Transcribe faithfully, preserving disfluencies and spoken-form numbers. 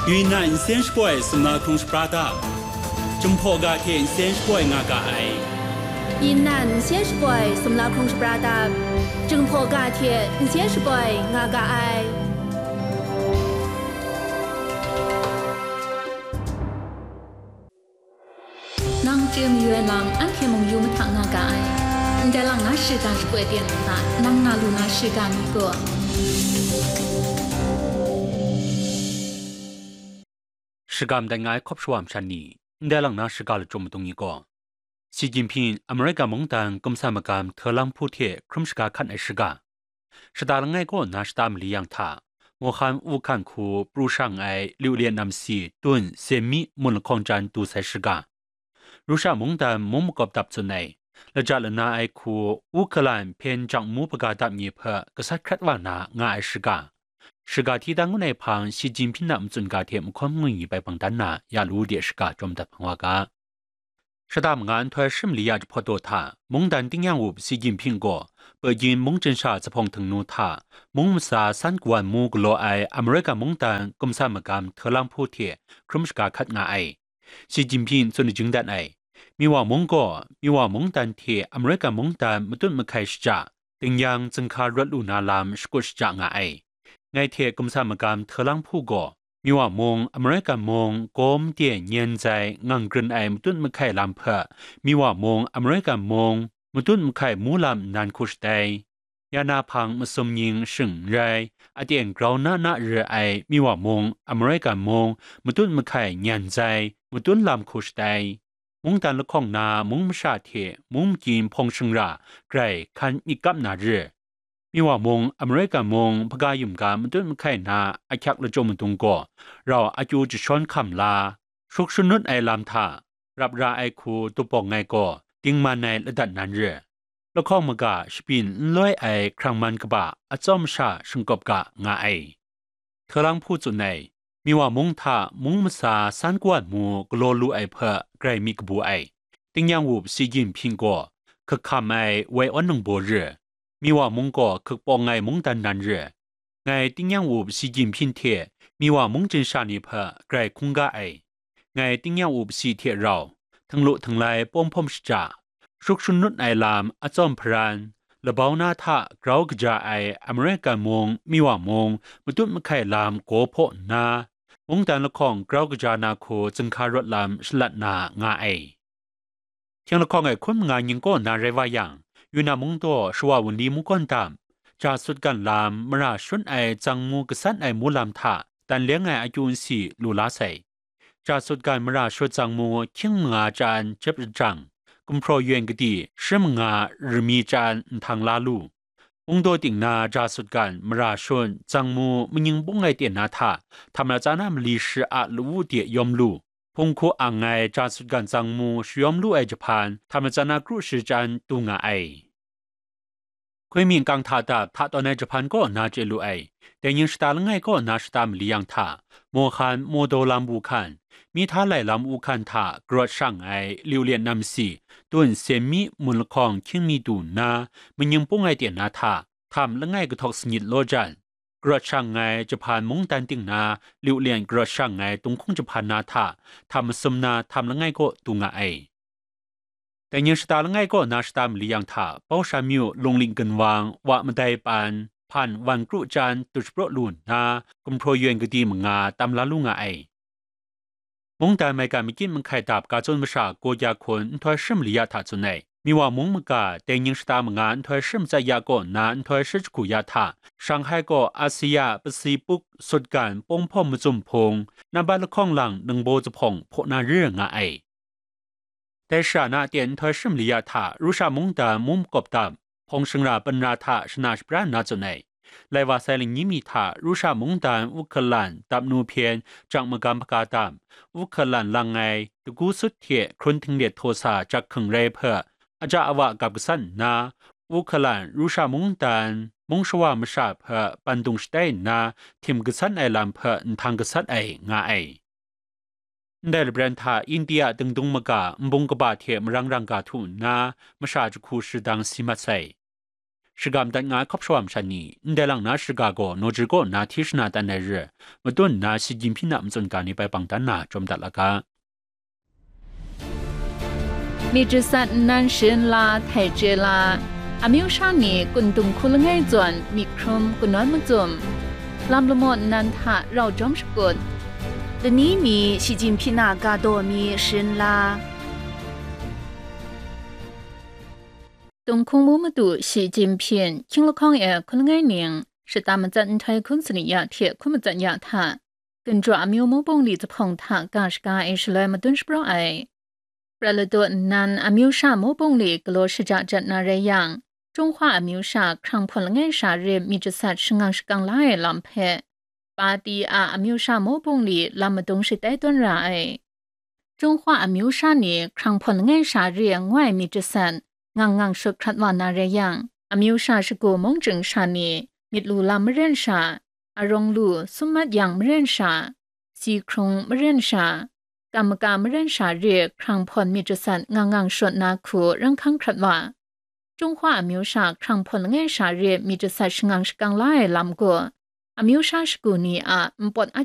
Yunnan nsen shapoi sumla hkrung shapra dap, Jinghpaw ga hte nsen shapoi nga ga ai. Yunnan nsen shapoi sumla hkrung shapra dap, Jinghpaw ga hte nsen shapoi nga ga ai. Nang chye mayu ai lam, anhte mung yu mahtang nga ga ai. Ndai lang na shiga shapoi ten hta, nang na lu na shiga mi gaw. Shiga madat nga ai hkawp shawa masha ni, ndai lang na shiga lachyum madung ni gaw, Xi Jinping America mungdan kumsa magam htawlang hpu hte hkrum shaga hkat ai shiga, shata langai kaw na shata mali yang hta, Wuhan Wukan hku pru shang ai liu lian nam si tun sen mi mun lahkawng chyan du sai shiga, Russia mungdan mung makawp dap tsun ai, lajat lana ai hku Ukraine hpyen jang mu hpaga dap ni hpe gasat hkrat wa na nga ai shiga, shiga hti dan ngut ai hpang Xi Jinping a matsun ga hte mahkawn mangwi bai bang dan na ya lu de shiga jawm dat hpang wa ga. Shata manga nhtoi shi mali ya jahpawt daw hta, mungdan tingnyang wup Xi Jinping gaw Beijing mungchin sha zuphpawng htingnu hta, mung masa san kawan mu galaw ai America mungdan kumsa magam htawlang hpu hte hkrum shaga hkat nga ai. Xi Jinping tsun lajing dat ai, Miwa mung gaw, Miwa mungdan hte America mungdan matut mahkai shaja, tingnyang zinghka rawt lu na lam shakut shaja nga ai. Ngai hte kumsa magam htawlang hpu gaw, Miwa mung, America mung, gawm de nyen zai ngang grin ai matut mahkai lam hpe, Miwa mung, America mung, matut mahkai mu lam nnan hku shatai. Ya na hpang masum nying shing n rai, aten grau na na re ai Miwa mung, America mung, matut mahkai nyan zai, matut lam hku shatai. Mungdan lahkawng na mung masha hte mung makyin hpawng shingra grai hkan myit kap na re. Miwa mung, America mung, hpaga yum ga matut mahkai na ahkyak lachyum madung gaw, rau akyu jashawn hkam la, shuk shanut ai lam hta, rap ra ai hku dupawng ai gaw, dingman ai ladat nan re. Lahkawng maga shabyin n loi ai hkrang man kaba atsawm sha shingkawp ga nga ai. Htawlang hpu tsun ai, Miwa mung hta mung masa san kawan mu galaw lu ai hpe grai myit kabu ai. Tingnyang wup Xi Jinping gaw hkak hkam ai wai awn ningbaw re, Miwa mung gaw hkak pawng ai mungdan nan re. Ngai tingnyang wup Xi Jinping hte Miwa mungchin sha ni hpe grai hkungga ai. Ngai tingnyang wup Xi hte rau, htinglu htinglai pawng hpawm shaja, shuk shanut ai lam atsawm hparan, labau na hta grau kaja ai America mung, Miwa mung, matut mahkai lam gaw hpaw nna, mungdan lahkawng grau kaja na hku zinghka rawt lam shalat na nga ai. Hkying lahkawng e hkun manga ning kaw na rai wa yang, Yunnan mung daw shawa wunli mungkawn dam, ja sut gan lam, mara shun ai tsang mu gasat ai mu lam hta dan leng ai akyu nsi lu la sai. Ja sut gan mara shut tsang mu hkying manga chyan jep jang, gumhpraw yen kadi shi manga rami chyan nhtang la lu. Mung daw ting na ja sut gan mara shut tsang mu maning bung ai ten na hta, htam na tsa na mali shi a lawu de yawm lu. Hpung hku ang ai ja sut gan tsang mu shayawm lu ai jahpan, htam na tsa na kru shi chyan du nga ai. Hkui myin kang hta dap hta tawn ai jahpan kaw na chye lu ai. Dai ning shata langai kaw na shata mali yang hta, Mohan, Modo lam Wukan, mi hta lai lam Wukan hta garawt shang ai liu lian nam si, tun sen mi mun lahkawng hkying mi du nna, maning pung ai ten na hta, htam langai kahtawk sanit law jan, garawt shang ai jahpan mungdan ting na liu lian garawt shang ai tunghkung jahpan na hta, htam masum na htam langai kaw du nga ai. Dai ning shata langai kaw na shata mali yang hta, Baushan myu lungling ginwang, wa madai pan, hpan wan kru chyan du shapraw lu nna, gumhpraw yen kadi manga tam la lu nga ai. Mungdan maigan makyin mahkai dap ga tsun masha Gokya hkun nhtoi shi mali ya hta tsun ai. Miwa mung maga dai ning shata manga nhtoi shi matsat ya kaw na nhtoi shi jahku ya hta, Shanghai kaw Asia Pacific sutgan pawng hpawm macum hpung, nambat lahkawng lang ningbaw zuphpawng hpaw na re nga ai. Dai shara na aten nhtoi shi mali ya hta Russia mungdan mung makawp dam, hpawng shingra panra hta shana shapra nna tsun ai. Lai wa sai lani mi hta Russia mungdan Ukraine dapnu hpyen jang magam hpaga dam, Ukraine lang ai dagu sut hte hkrun htinglet htaw sa jak hkring rai hpe, aja awa gap gasat nna, Ukraine Russia mungdan mung shawa masha hpe bandung shatai nna htim gasat ai lam hpe nhtang gasat ai nga ai. Ndai labran hta India dingdung maga nbung kaba hte marang rang ga htu nna, masha jahku shadang si mat sai. shagam dat nga ai hkawp shawa masha ni, ndai lang na shaga gaw Nawjri kaw na hti shana dan ai re, matun nna Shi Jinhping a matsun ga ni bai bang dan na jawm dat la ga. มีจิตสัตว์นั้น เชิญลา ไทเจลา อามิวชาตินี้ กุนตุงคุลง่ายจวน มีครุมกุนน้อยมาจุ่ม ลำละหมดนั้นทะ เราจอมสะกด เดี๋ยวนี้มี ชิจินพินา กาโดมี เชิญลา Dongkung mu madu Shi Jinping, hkying lahkawng e hkun langai ning, shata matsat nhtoi hkun sani ya hte hkun matsat ya hta, ginjaw amyu mu bungli zuphpawng hta ga shaga e shaloi madun shapraw ai. Prat ladaw nnan amyu sha mu bungli galaw shaja jat na rai yang, Chunghwa amyu sha hkrang hpawn langai sha re myit jasat shangang shakang la ai lam hpe, Pati a amyu sha mu bungli lam madung shatai tawn ra ai. Chunghwa amyu sha ni hkrang hpawn langai sha re ngoi myit jasat ngang ngang shut hkrat wa na rai yang, amyu sha shagu mung chying sha ni myit lu lam maren sha, arawng lu sum mat yang maren sha, si hkrung maren sha, kam maka maren sha re hkrang hpawn myit jasat ngang ngang shut na hku rang hkang hkrat wa. Chunghwa amyu sha hkrang hpawn langai sha re myit jasat shangang shakang la ai lam gaw, amyu sha shagu ni a npawt a